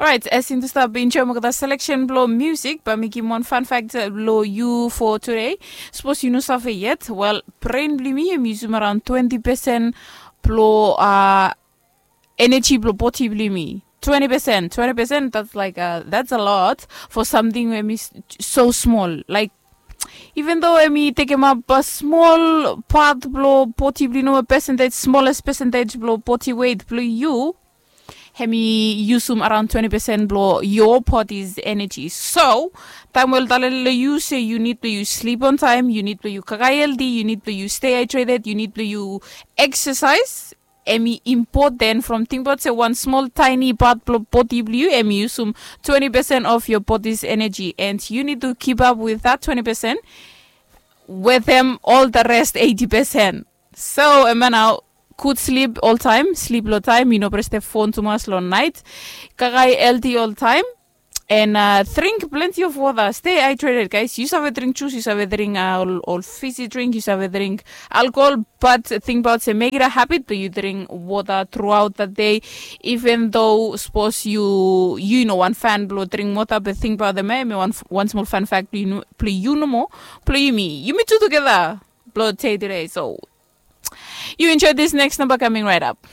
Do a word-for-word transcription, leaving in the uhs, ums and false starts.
Rait, as in tu stap enjoim olgeta selection blong musik, bae mi givim wan fan fact blong yu for today. Sapos yu no save yet, wel, brain blong yumi em yusum around twenty percent blong uh, energy blong body blong yumi. Twenty percent, twenty percent, that's like uh, that's a lot for something we mi so small. Like, even though emi tekem up a small part blong body blong yu, no, percentage, smallest percentage blong body weight blong yu, hemi yusum around twenty percent blong your body's energy. So taem we ol talen long yu se yu nid blong yu sleep on time, yu nid blong yu kakae healthy, yu nid blong yu stay hydrated, yu nid blong yu exercise. Emi important from tingbaot se wan small tiny part blong body blong yu emi yusum twenty percent of your body's energy, and you need to keep up with that twenty percent with them all the rest eighty percent. So ema nao, good sleep all time, sleep long time, yu no breste phone tumas long night, kakae healthy all time, and uh, drink plenty of water, stay hydrated, guys. Yu save drink juice, yu save drink uh, ol, ol fizzy drink, yu save drink alcohol, but tingbaot se make it a habit blong yu drink water throughout the day. Even though sapos yu yu no wan fan blong drink water, but tingbaot em, em wan, wan small fan fact blong yu, blong yu nomo, blong yumi, yumi tu together blong day today. So you enjoy this next number coming right up.